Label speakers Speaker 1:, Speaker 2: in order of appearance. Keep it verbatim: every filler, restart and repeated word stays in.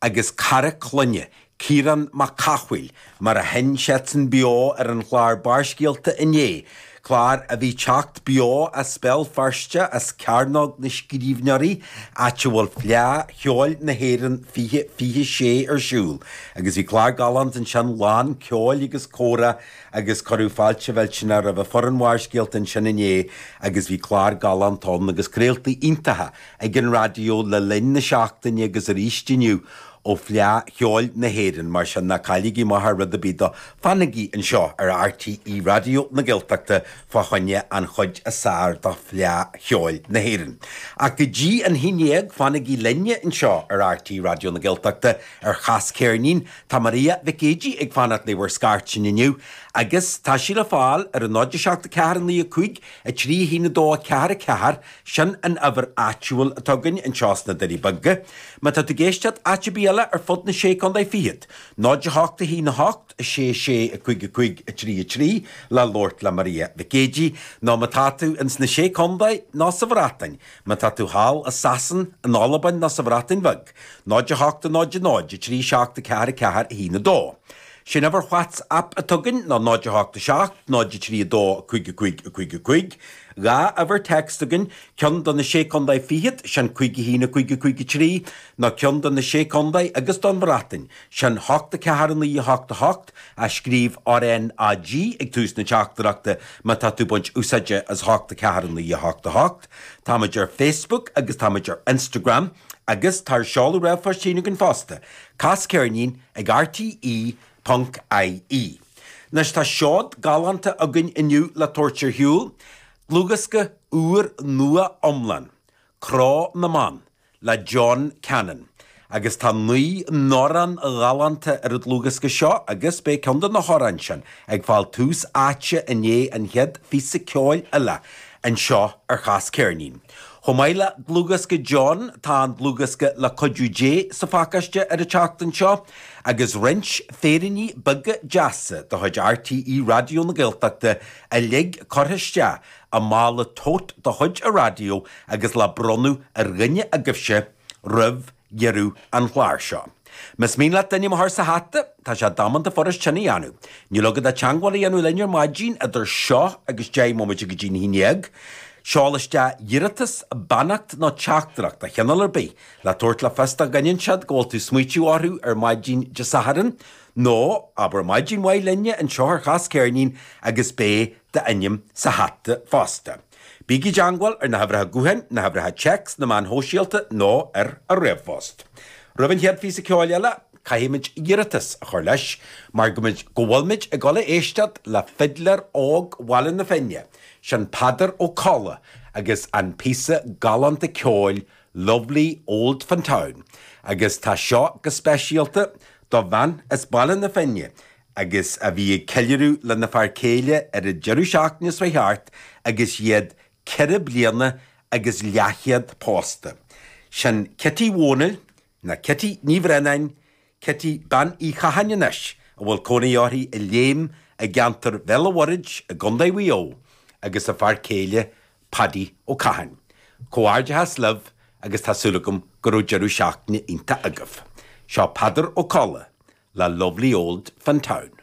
Speaker 1: agus cara clainne, Ciarán Mac Cathmhaoil, mar a sheinn siadsan beo ar an chlár Barrscéalta inné, clár a bhí teacht beo as Béal Feirste as Cearnóg na Scríbhneoirí, áit a bhfuil Fleadh Cheoil na hÉireann fiche fiche sé ar siúl. Agus bhí clár galánta ansin lán ceoil agus comhrá agus cuireadh fáilte mhillteanach roimh foireann Bharrscéalta ansin inné agus bhí clár galánta ann agus craoltaí iontacha ag an raidió le linn na seachtaine agus arís inniu ó Fhleadh Cheoil na hÉireann mar sin ná cailligí amach ar rud ar bith dó fanaigí anseo ar RTÉ Raidió na Gaeltachta fá choinne an chuid is fearr de Fhleadh Cheoil na hÉireann. Ach go dtí an haon déag fanaigí linne anseo ar RTÉ Raidió na Gaeltachta ar Chas Ceirnín Tá Maria Mhic Géidigh ag fanacht le bhur scairteanna inniu agus tá sí le fáil ar an náid seacht a ceathair naoi a cúig a trí haon a dó a ceathair a ceathair sin an uimhir áitiúil atá againn anseo sna Doirí Beaga. Má tá tú ag éisteacht áit ar bith eile ar fud na sé contae fichead. Náid a hocht a haon a hocht a sé sé a cúig a cúig a trí a trí le labhairt le Maria Mhic Géidigh nó má tá tú ins na sé contae nó sa Bhreatain, má tá tú thall i Sasain in Albain nó sa Bhreatain Bheag, náid a hocht a náid a náid a trí seacht a ceathair a ceathair a haon a dó. Sin uimhir WhatsApp atá againn ná náid a hocht a seacht, náid a trí a dó cúig a cúig a cúig a cúig, Dhá uimhir text againn ceann do na sé contae fichead sin cúig a haon a cúig a cúig a trí, nó ceann do na sé contae agus don Bhreatain, sin hocht a ceathair naoi a hocht a hocht a scríobh RNAG ag tús na teachtaireachta má tá tú ag baint úsáide as hocht a ceathair naoi a hocht a hocht. Táimid ar Facebook agus táimid ar Instagram agus tá seoladh ríomhphoist againn fosta. Cas ceirnín ag RTE ponc IE. Anois tá seod galánta againn inniu le tabhairt ar shiúl, dlúthdhiosca úr nua iomlán, Cró na mBan, le John Cannon. Agus tá naoi n-amhrán ghalánta ar an dlúthdhiosca seo agus beidh ceann de na hamhráin sin ag fáil tús áite i ndiaidh an chéad phíosa ceoil eile anseo ar Chas Ceirnín. Chomh maith le dlúthdhiosca John tá an dlúthdhiosca le cuidiú Dé sa phacáiste ar an tseachtain seo, agus roinnt féiríní beaga deasa de chuid RTÉ Raidió na Gaeltachta uilig curtha isteach i mála tote de chuid an raidió agus le bronnadh ar dhuine agaibhse roimh dheireadh an chláir seo. Más mian leat d'ainm a chur sa hata, tá sé damanta furast sin a dhéanamh. Níl agat ach teagmháil a dhéanamh linn ar maidin idir seo agus deich mbomaite go dtí a haon déag. Seol isteach iarratas, beannacht nó teachtaireacht de chineál ar bith le tabhairt le fios do dhuine inteacht go bhfuil tú smaoitiú orthu ar maidin Dé Sathairn, nó abair maidin mhaith linne anseo ar Chas Ceirnín agus beidh d'ainm sa hata fosta. Bígí i dteagmháil ar na huimhreacha gutháin, na huimhreacha téacs, na meáin shóisialta nó ar an ríomhphost. Roimh an chéad phíosa ceoil eile, caithfimid iarratas a chur leis mar go go bhfuilmid ag dul a éisteacht le fidléir óg Bhaile na Finne, sin Peadar Ó Colla agus an píosa galánta ceoil Lovely Old Fintown. Agus tá seo go speisialta do bhean as Baile na Finne, agus a bhí ag ceiliúradh lena fear céile ar an deireadh seachtaine seo thart agus iad ceithre bliana agus leathchéad pósta. Sin Kitty Wónail na Kitty Ní Bhreannáin, Kitty bean Uí Chatháin anois a bhfuil cónaí uirthi i Léim i gceantar Bhéal an Mhuirthead i gContae Mhaigh Eo agus a fear céile Paddy Ó Catháin. Comhghairdeas libh agus tá súil agam go raibh deireadh seachtaine iontach agaibh. Seo Peadar Ó Colla le Lovely Old Fintown.